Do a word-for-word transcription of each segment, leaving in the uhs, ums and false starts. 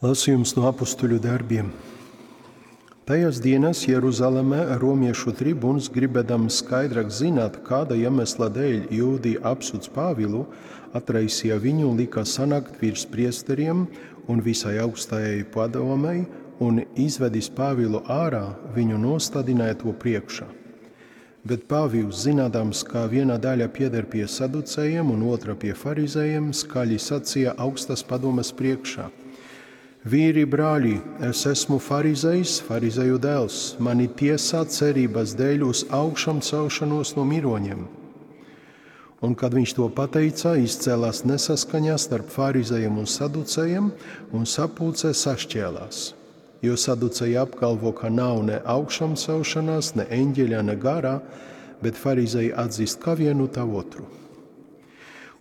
Lasījums no apustuļu darbiem. Tajās dienās Jeruzalemē romiešu tribuns, gribēdams skaidrāk zināt, kāda iemesla dēļ jūdi apsūdz Pāvilu, atraisīja viņu un lika sanākt virs priesteriem un visai augstajai padomei, un izvedis Pāvilu ārā, viņu nostādināja to priekšā. Bet Pāvils, zinādams, ka viena daļa pieder pie saducējiem un otra pie farizējiem, skaļi sacīja augstas padomes priekšā: Vīri, brāļi, es esmu farizejs, farizeju dēls, mani tiesā cerības dēļ uz augšām celšanos no miroņiem. Un, kad viņš to pateica, izcēlās nesaskaņā starp farizejiem un saducējiem, un sapulcē sašķēlās. Jo saduceji apgalvo, ka nav ne augšām celšanās, ne eņģeļa, ne garā, bet farizeji atzīst kā vienu tā otru.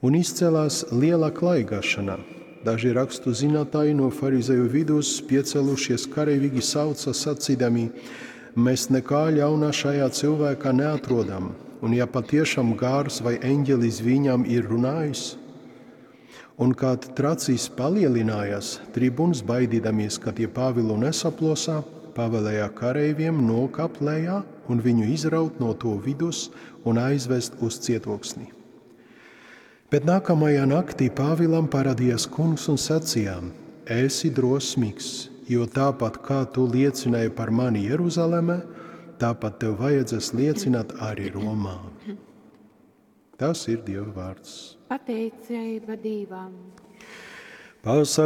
Un izcēlās liela klaigāšana. Daži rakstu zinātāji no farizeju vidus piecēlušies kareivīgi sauca sacīdami: mēs nekā ļauna šajā cilvēkā neatrodam, un ja patiešām gars vai eņģelis viņam ir runājis. Un kad tracis palielinājās, tribuns, baidīdamies, ka tie Pāvilu nesaplosā, pavēlēja kareiviem nokāpt lejā un viņu izraut no to vidus un aizvest uz cietoksni. Bet nākamajā naktī Pāvilam parādījās kungs un sacīja: esi drosmīgs, jo tāpat kā tu liecināji par mani Jeruzalemē, tāpat tev vajadzēs liecināt arī Romā. Tas ir Dieva vārds. Pateicība Dievam. Pasargā